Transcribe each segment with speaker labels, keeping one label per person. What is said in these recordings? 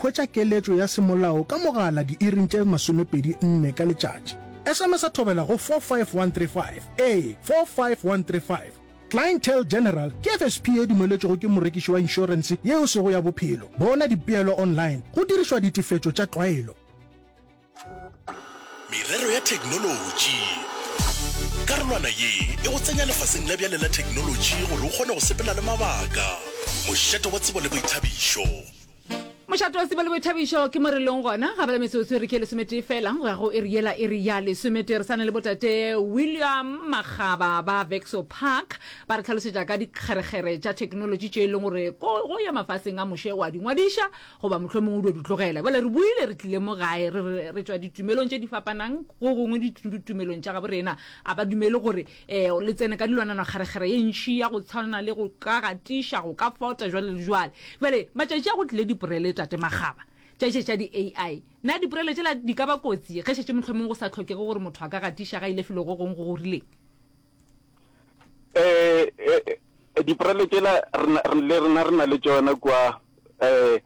Speaker 1: hwetša keletšo ya semolao ka mogala diiring tše 24 ka letšatši. SMS-a Thobela go 45135, ee, 45135. Clientele General ke FSP ye dumeletšwego ke morekiši wa inšorense ye e sego ya bophelo. Bona dipeelo online go dirišwa ditefetšo tša tlwaelo.
Speaker 2: Merero ya theknolotši. Karolwana ye e go tsenya lefaseng la bjale la theknolotši gore o kgone go sepela le mabaka. Mošate wa tsebo le boithabišo.
Speaker 3: Mošate wa tsebo le boithabišo ke mo re leng gona. Ga bjale metsotso e re ke lesometee fela go ya go iri yela iri ya lesometee. Re sa na le botate William Makgaba ba Vexo Park ba re hlalosetša ka dikgerekgere tša theknolotši tše e leng gore go ya mafaseng a moše wa di ngwadiša goba mohlomongwe o dio di tlogela. Bjale re boile re tlile mo gae, re re re tšwa ditumelong tše di fapanang, go gongwe ditumelong tša gabo rena a ba dumele gore um le tsene ka dilwanana kgerekgere ye ntši ya go tshwana le go ka gatiša, go ka fota, jwale le jwale. Bjale matšatši a go tlile diporele Tate Makgaba, tša tše tša di-AI. Na diporele tšela di ka ba kotsi ge šetše mohlomongwe go sa hlokege gore motho a ka gatiša ga ile felo go gongwe go go rileng?
Speaker 4: Eh, eh, diporele tšela le rena re na le tšona kua um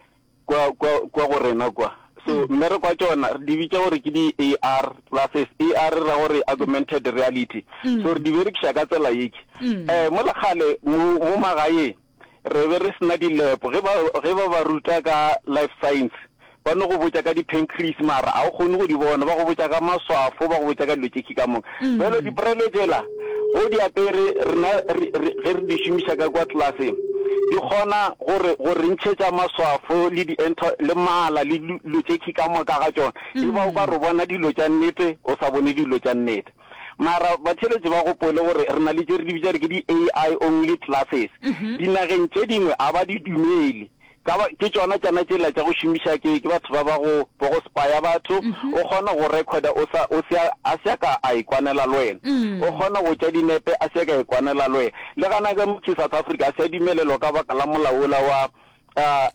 Speaker 4: kua kua kua go rena kua so mm. mmereko wa tšona re di bitša gore ke di-ar classes ar ra gore augmented reality mm. so re di berekiša ka tsela yeke um mm. mo lekgale mo magaeng re be re sena dilepo ge ba ge ba ba ruta ka life science ba no go botša ka di-pancreas mara ga o kgone go di bona ba go botša ka maswafo ba go botša ka dilo tše ka moka mm. bjalo diprele tšela go di apere rena ge re di šomiša ka kwa tlelaseng di kgona gore go re ntšhetša maswafo le di le mala le dilo tše ka moka ga tšona e ba o ka re bona dilo tša nnete o sa bone dilo tša nnete Mara batheeletši ba gopole gore re na le tše re di bitša re ke di AI only classes. Dinageng tše dingwe a ba di dumele. Ka ba, ke tšona tšana tšela tša go šomiša ke, ke batho ba ba go, ba go spaya batho. O kgona go recorda o sa, o se a, a se a ka a ikwanela le wena. O kgona go tša dinepe a se a ka a ikwanela le wena. Le gana ka mo South Africa a se a dumelelwa ka baka la molao wola wa uh,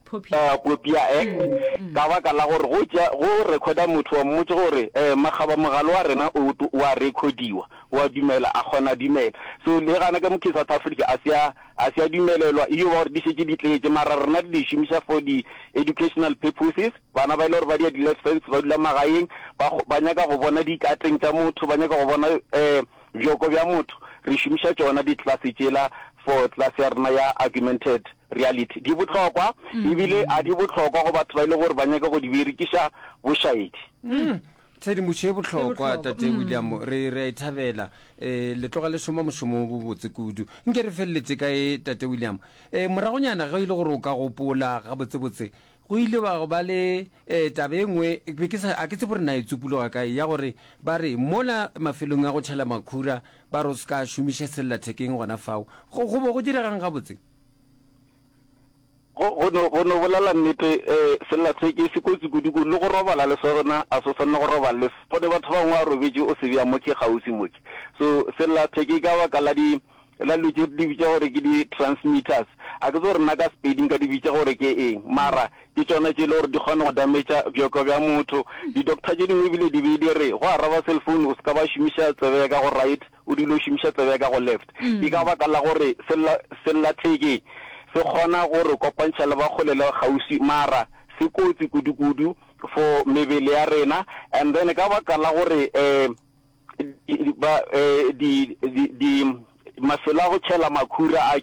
Speaker 4: Popia Act mm. ka baka la gore go tša go recorda motho wa mmotse gore eh magaba mogalo wa rena o wa recodiwa wa dumela a kgona dumela so le gana ka mo ke South Africa a se a a se a dumelelwa iyo ba gore di šetše di tletše mara rena re di šomiša for di educational purposes bana ba ile gore ba dia di lessons ba dula magaeng ba ba nyaka go bona dikateng tša motho ba nyaka go bona eh bjoko bja motho re šomiša tšona di class tšela for class ya rena ya augmented reality di bohlokwa ebile a di bohlokwa go batho ba e le gore ba nyaka go di berekiša bošaedi.
Speaker 5: Tshedimošo e bohlokwa Tate William, re re a e thabela. Um le tloga le šoma mošomo o bobotse kudu. Nke re feleletše ka e Tate William. Um moragonyana ge e le gore o ka gopola gabotsebotse, go ile wa ba le um taba e nngwe, be ke sa, a ke tsebe gore na e tsupologa kae, ya gore ba re mola mafelong a go tšhela makhura ba re o se ka šomiša sellathekeng gona fao. Go, go bo go diregang gabotse?
Speaker 4: Go, go no, go no bolela nnete, eh, sellatheke se kotsi kudu-kudu, le go robala le sona, a se swanne go robala le sona. Gone batho ba bangwe ba robetše o se bea mo ke kgauswi mo ke. So, sellatheke ka baka la di, la dilo tše re di bitša gore ke di transmitters, a ke tsebe gore nna ka Sepedi nka di bitša gore ke eng, mara ke tšona tše e le gore di kgona go dametša bjoko bja motho. Di-doctor tše dingwe ebile di be di re, go araba cell phone o se ka ba šomiša tsebe ya ka go right, o dule o šomiša tsebe ya ka go left. Ke ka baka la gore sella, sellathekeng se kgona go re kopantšha le ba kgole le kgauswi, mara se kotsi kudu-kudu for mebele ya rena. And then ka baka la gore um ba um di, di, di, mafelo a go tšhela makhura a,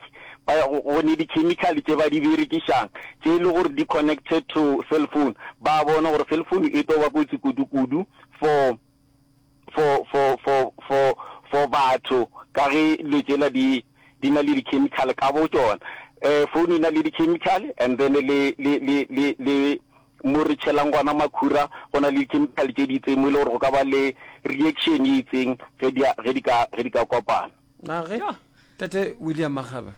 Speaker 4: ba, go ne di-chemical tše ba di berekišang tše e le gore di connected to cell phone, ba bona gore cell phone e tlo ba kotsi kudu-kudu for for, for, for, for, for batho, ka ge dilo tšela di, di na le di-chemical ka bo tšona. Eh, phone e na le di-chemical, and then le, le, le, le, le mo re tšhelang gona makhura, go na le di-chemical tše di itseng mo e le gore go ka ba le reaction e itseng ge di, ge di ka, ge di ka kopana.
Speaker 5: A ge, Tate William Makgaba,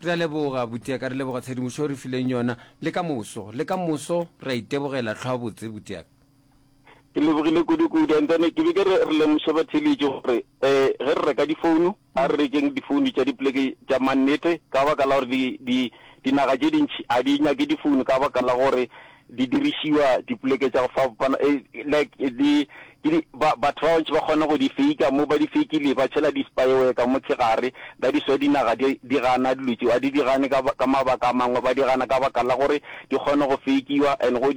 Speaker 5: re a leboga, butiaka, re leboga tshedimošo o re fileng yona. Le ka moso, le ka moso re a itebogela, hlwa botse, butiaka.
Speaker 4: Ke lebogile kudu-kudu. And then ke be ke re re lemoše batheeletši gore um ge re reka difounu, a re rekeng difounu tša dipoleke tša mannete ka baka la gore di, di, dinaga tše dintši a di nyake difounu ka baka la gore di dirišiwa dipoleke tša go fapana, eh, like di, ke di, ba, batho ba bantši ba kgona go di faker, mo ba di fakile ba tšhela di-spyware ka mo gare, that is why dinaga di, di gana dilo tšeo, a di di gane ka, ka mabaka a mangwe, ba di gana ka baka la gore di kgona go fakiwa and go di.